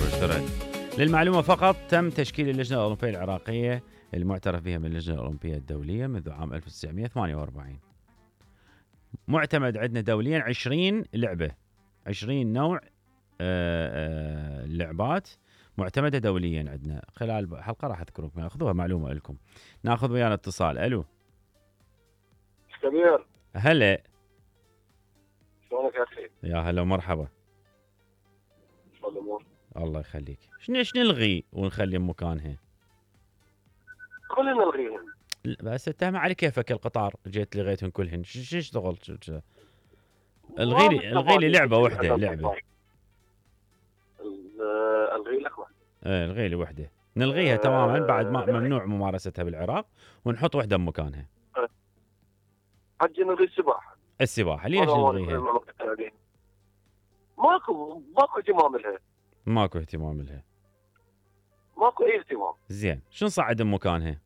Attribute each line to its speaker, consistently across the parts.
Speaker 1: اشتريت. للمعلومة فقط، تم تشكيل اللجنة الأولمبية العراقية المعترف بها من اللجنة الأولمبية الدولية منذ عام 1948. معتمد عندنا دوليا 20 لعبة، 20 نوع لعبات معتمدة دوليا عندنا. خلال حلقة راح أذكركم، أخذوها معلومة لكم. ناخذ ويانا اتصال. ألو
Speaker 2: سمير،
Speaker 1: هلا.
Speaker 2: شلونك يا أخي؟
Speaker 1: يا هلا ومرحبا.
Speaker 2: شو الأمور؟
Speaker 1: الله يخليك. شنو نلغي ونخلي مكانها؟
Speaker 2: كلنا نلغيهم.
Speaker 1: بس اتهم على كيفك القطار، جيت لغيتهم كلهن. شو اشتغل؟ الغي لي لعبه واحده. لعبه
Speaker 2: الغي لك واحده.
Speaker 1: الغي لي واحده، نلغيها تماما بعد ما ممنوع ممارستها بالعراق، ونحط واحده بمكانها.
Speaker 2: حجي نلغي السباحه.
Speaker 1: السباحه ليش نلغيها؟
Speaker 2: ماكو اهتمام لها.
Speaker 1: ماكو اهتمام لها.
Speaker 2: ماكو اي اهتمام.
Speaker 1: زين، شو نصعد بمكانها؟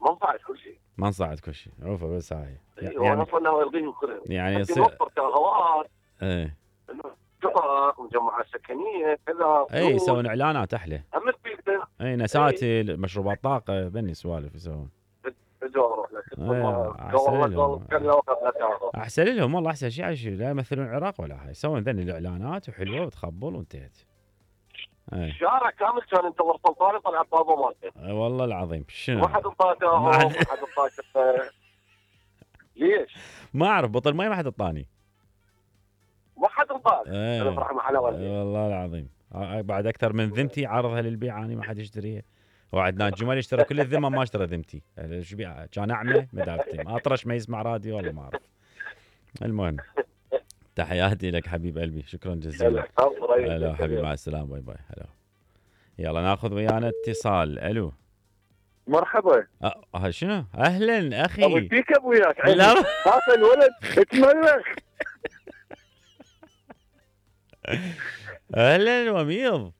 Speaker 2: ما نصعد كل شيء.
Speaker 1: ما نصعد كل شيء، عوفه بس هاي.
Speaker 2: يعني اصلا نلغيهم كلهم.
Speaker 1: يعني
Speaker 2: نوفر شغلات.
Speaker 1: ايه
Speaker 2: شقق ومجمعات سكنيه كذا.
Speaker 1: اي يسوون اعلانات احلى. اي نساتي مشروبات طاقه، بني سوالف يسوون. احسن لهم والله، احسن شيء لا يمثلون العراق ولا هاي، يسوون ذني الاعلانات وحلوه وتخبل وانتهت.
Speaker 2: الشارع كامل كان ينتظر سلطان طلع بابا مالته.
Speaker 1: والله العظيم. شنو؟
Speaker 2: ما حد انطاته. ما حد انطاته. ليش؟
Speaker 1: ما اعرف، بطل مي ما حد انطاني.
Speaker 2: ما حد انطاته. انا فرح مع حلاوه.
Speaker 1: والله العظيم. بعد اكثر من ذمتي عارضها للبيع، اني ما حد يشتريها. وعدنان جمال اشترى كل الذمه، ما اشترى ذمتي. شو بيع؟ كان اعمى مدافتي، اطرش ما يسمع راديو والله ما اعرف. المهم، تحياتي لك حبيب قلبي، شكرا جزيلا. هلا حبيبي، مع السلامه، باي باي. هلا. يلا ناخذ ويانا اتصال. الو
Speaker 2: مرحبا.
Speaker 1: شنو؟ اهلا اخي.
Speaker 2: ابو فيك ابوياك. هذا الولد اتملخ.
Speaker 1: اهلا وميض.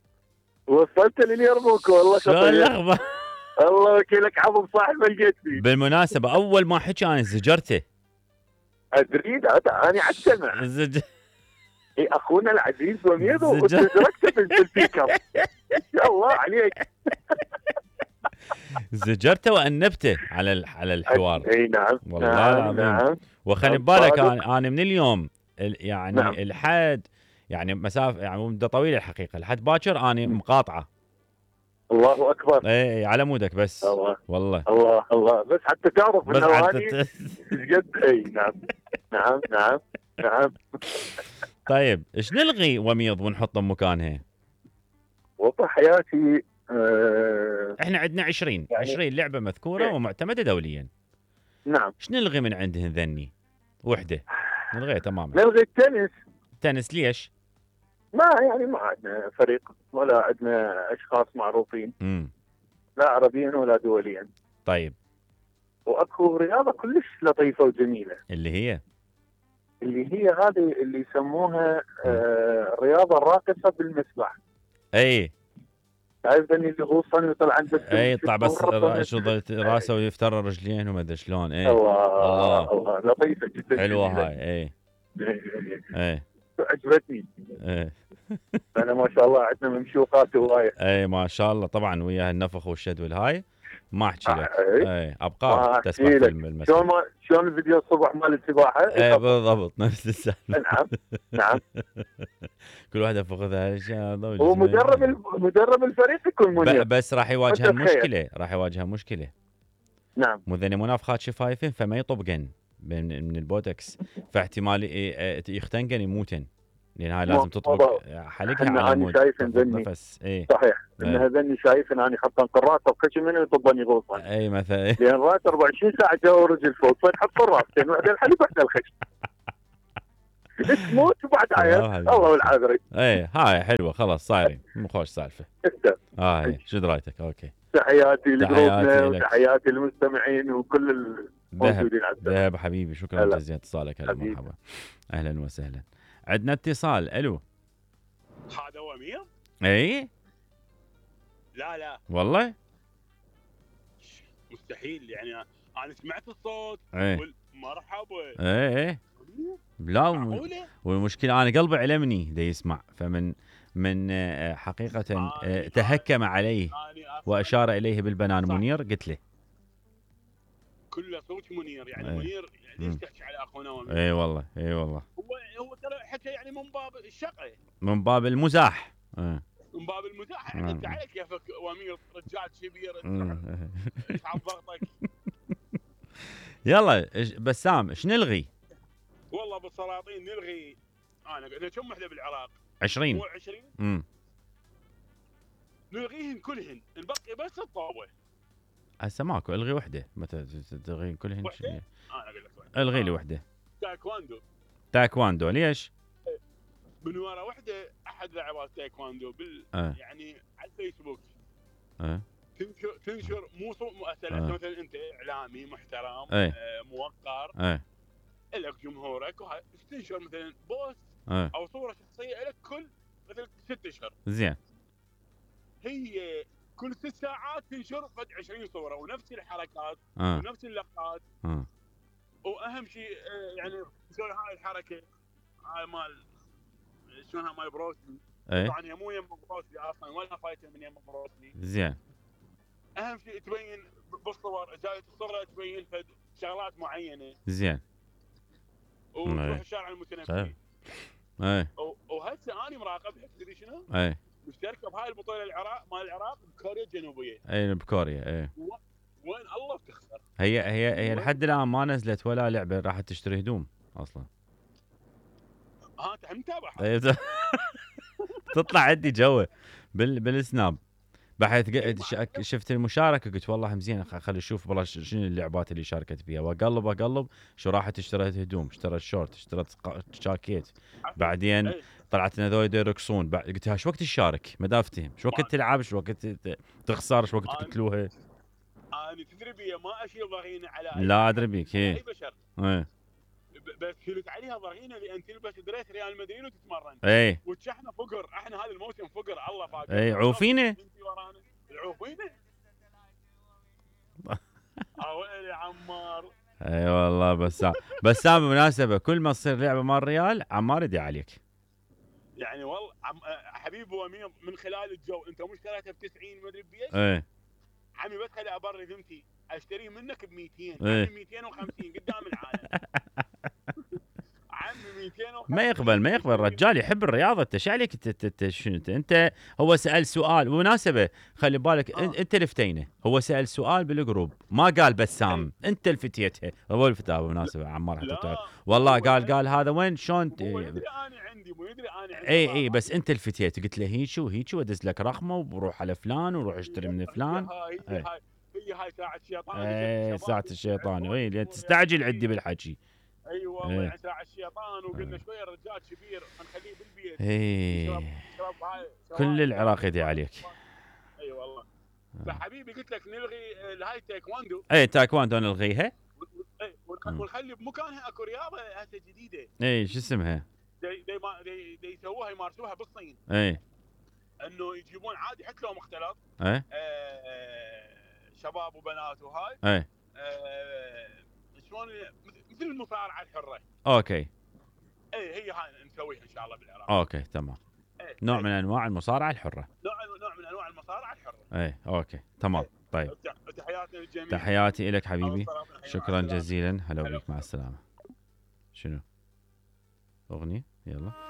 Speaker 2: وصلت لليرموك والله.
Speaker 1: شو الاخبار؟
Speaker 2: الله وكيلك عظم صاحب ما لقيت فيه.
Speaker 1: بالمناسبه اول ما حكى انا زجرته.
Speaker 2: ادري انا عالسمع. اي اخونا العزيز وميض وتدركته بالسبيكر. ان شاء الله عليك.
Speaker 1: زجرته وانبته على الحوار.
Speaker 2: اي نعم
Speaker 1: والله العظيم.
Speaker 2: نعم.
Speaker 1: وخلي بالك انا من اليوم يعني
Speaker 2: نعم.
Speaker 1: الحد يعني مسافه، يعني مده طويله الحقيقه، لحد باكر انا مقاطعه.
Speaker 2: الله اكبر.
Speaker 1: اي على مودك بس.
Speaker 2: الله
Speaker 1: والله.
Speaker 2: الله بس حتى تعرف
Speaker 1: بس
Speaker 2: انه اني جد. اي نعم نعم نعم نعم.
Speaker 1: طيب ايش نلغي وميض ونحط مكانها؟
Speaker 2: والله حياتي
Speaker 1: احنا عندنا 20 لعبه مذكوره ومعتمده دوليا.
Speaker 2: نعم.
Speaker 1: ايش نلغي من عندهن ذني؟ وحده نلغيها تماما.
Speaker 2: نلغي التنس.
Speaker 1: تنس ليش؟
Speaker 2: ما عندنا فريق ولا عندنا اشخاص معروفين. لا عربيا ولا دوليا.
Speaker 1: طيب.
Speaker 2: واكو رياضه كلش لطيفه وجميله
Speaker 1: اللي هي
Speaker 2: هذه اللي يسموها الرياضه الراقصه بالمسبح.
Speaker 1: اي
Speaker 2: تعرف اللي غوصا ويطلع عنده.
Speaker 1: اي يطلع بس راسه ويفتر رجلين وما ادري شلون. اي
Speaker 2: الله لطيفه جدا.
Speaker 1: حلوه هاي. اي
Speaker 2: عجبتني.
Speaker 1: اي
Speaker 2: انا ما شاء الله عندنا ممشوقات هوايه.
Speaker 1: اي ما شاء الله طبعا، وياها النفخ والشد والهاي ما احكي لك. اي ابقار تسبح في المسبح.
Speaker 2: شلون الفيديو الصبح مال السباحه.
Speaker 1: اي بالضبط نفس السالفه.
Speaker 2: نعم
Speaker 1: كل واحد فخذها
Speaker 2: هو مدرب الفريق يكون منير.
Speaker 1: بس راح يواجه مشكله.
Speaker 2: نعم.
Speaker 1: مذني منافخات شفايفين، فما يطبقن من البوتكس، فاحتمال يختنقن يموتن، لان هاي لازم تطبق حلقها على مود نفس. اي
Speaker 2: صحيح. ان هذني شايف ان انا حاطن قراطه وخشم منه يطبني غوصا.
Speaker 1: اي مثلا
Speaker 2: لان راس 24 ساعه جو ورجل فوق، فنحط الراسين واحده الحليب واحده الخشم. تموت وبعد عيال الله والعذري.
Speaker 1: اي هاي حلوه خلاص صايرين مو خوش سالفه. هاي شو درايتك؟ اوكي.
Speaker 2: تحياتي لجروبنا وتحياتي للمستمعين وكل الموجودين على السماء.
Speaker 1: ذهب حبيبي، شكرا جزيلا اتصالك. هلا مرحبا. اهلا وسهلا. عندنا اتصال. الو.
Speaker 3: هذا وميض؟
Speaker 1: اي
Speaker 3: لا
Speaker 1: والله
Speaker 3: مستحيل. يعني انا سمعت الصوت مرحبا.
Speaker 1: اي لا والمشكله انا قلبي علمني دا يسمع، فمن من حقيقة تهكم عليه وأشار إليه بالبنان منير، قلت له
Speaker 3: كله صوت منير يعني منير ليش تحكي على اخونا ومير؟
Speaker 1: اي والله اي والله
Speaker 3: هو ترى حكى يعني من باب الشقه،
Speaker 1: من باب المزاح،
Speaker 3: من باب المزاح. انت عليك كيفك ومير رجال كبير ايش عم ضغطك.
Speaker 1: يلا بسام ايش نلغي؟
Speaker 3: والله بالسلاطين نلغي. انا كم وحده بالعراق؟
Speaker 1: 20
Speaker 3: مو 20. نلغيهن كلهن، نبقي بس الطاوه.
Speaker 1: هسه ماكو، الغي وحده. متى تلغين كلهن؟
Speaker 3: وحده؟ انا اقول لك وحده.
Speaker 1: الغي لي وحده.
Speaker 3: تايكواندو
Speaker 1: ليش؟
Speaker 3: من ورا وحده احد لاعبات تايكواندو يعني على الفيسبوك تنشر مو مؤثر مثلا انت اعلامي محترم موقر لك جمهورك وهاي تنشر مثلا بوست او صوره شخصيه لك كل مثلا 6 اشهر.
Speaker 1: زين.
Speaker 3: هي كل 6 ساعات تنشر فد 20 صوره ونفس الحركات ونفس اللقطات. واهم شيء يعني تسوي هاي الحركه هاي مال شلونها مال بروسلي. طبعا هي مو يم بروسلي اصلا ولا فايته من يم بروسلي.
Speaker 1: زين.
Speaker 3: اهم شيء تبين بالصور، جايه الصوره تبين فد شغلات معينه.
Speaker 1: زين.
Speaker 3: وتروح الشارع المتنبي. وهسه انا مراقبها تدري شنو؟ مشتركه بهاي البطوله مال العراق بكوريا الجنوبيه.
Speaker 1: بكوريا.
Speaker 3: وين الله بتخسر.
Speaker 1: هي لحد الان ما نزلت ولا لعبه راح تشتري هدوم اصلا.
Speaker 3: انت متابع.
Speaker 1: تطلع عندي جوه بالسناب بحيث شفت المشاركه قلت والله زين خلي اشوف والله شنو اللعبات اللي شاركت فيها، واقلب شو راحت اشتريت هدوم، اشتريت شورت، اشتريت جاكيت. بعدين طلعت ان ذول يرقصون، قلت شو وقت تشارك؟ ما افتهم شو وقت تلعب، شو وقت تخسر، شو وقت تقتلوها.
Speaker 3: انا تدري بي ما اشيل ضغينه على
Speaker 1: لا ادري بيك
Speaker 3: اي بشر. بس شلت عليها ضغينه لان تلبس دريس ريال مدريد وتتمرن. وتشحنا فقر، احنا هذا الموسم فقر الله فاقر.
Speaker 1: عوفينه.
Speaker 3: العوفينه. يا عمار.
Speaker 1: والله بسام بالمناسبه كل ما تصير لعبه مال ريال عمار يدي عليك.
Speaker 3: يعني والله حبيبي ومير من خلال الجو انت مو اشتريتها ب 90 مدري بيش. عمي بس خلي ابرر ذمتي اشتريه منك ب 200. عمي 250 قدام العالم. عمي 250
Speaker 1: ما يقبل رجال يحب الرياضه. انت ايش عليك انت هو سال سؤال بالمناسبه خلي بالك. انت الفتينه هو سال سؤال بالجروب ما قال بسام. انت الفتيتها هو الفتاه بالمناسبه عمار حتى والله قال هذا وين شلون
Speaker 3: مو يدري انا عندي
Speaker 1: اي بس انت الفتيت قلت له هيك وادز لك رقمه وبروح على فلان وروح اشتري من فلان.
Speaker 3: هي هاي ساعه الشيطان.
Speaker 1: ساعه الشيطان لان تستعجل عندي بالحكي.
Speaker 3: اي والله يعني ساعه الشيطان وقلنا شويه الرجال كبير نخليه بالبيت.
Speaker 1: كل العراق يدي عليك.
Speaker 3: اي والله. فحبيبي قلت لك نلغي هاي تايكواندو.
Speaker 1: تايكواندو نلغيها.
Speaker 3: ونخلي بمكانها اكو رياضه هسه جديده.
Speaker 1: شو اسمها؟
Speaker 3: دي يسووها يمارسوها بالصين. انه يجيبون عادي حتى لو مختلط. شباب وبنات وهاي. شلون مثل المصارعه الحره.
Speaker 1: اوكي.
Speaker 3: هي هاي نسويها ان شاء الله بالعراق.
Speaker 1: اوكي تمام. نوع من انواع المصارعه الحره.
Speaker 3: نوع من انواع المصارعه الحره.
Speaker 1: اوكي تمام. طيب
Speaker 3: تحياتي للجميع.
Speaker 1: تحياتي لك حبيبي. شكرا جزيلا. هلا بيك مع السلامه. شنو اغنيه يلا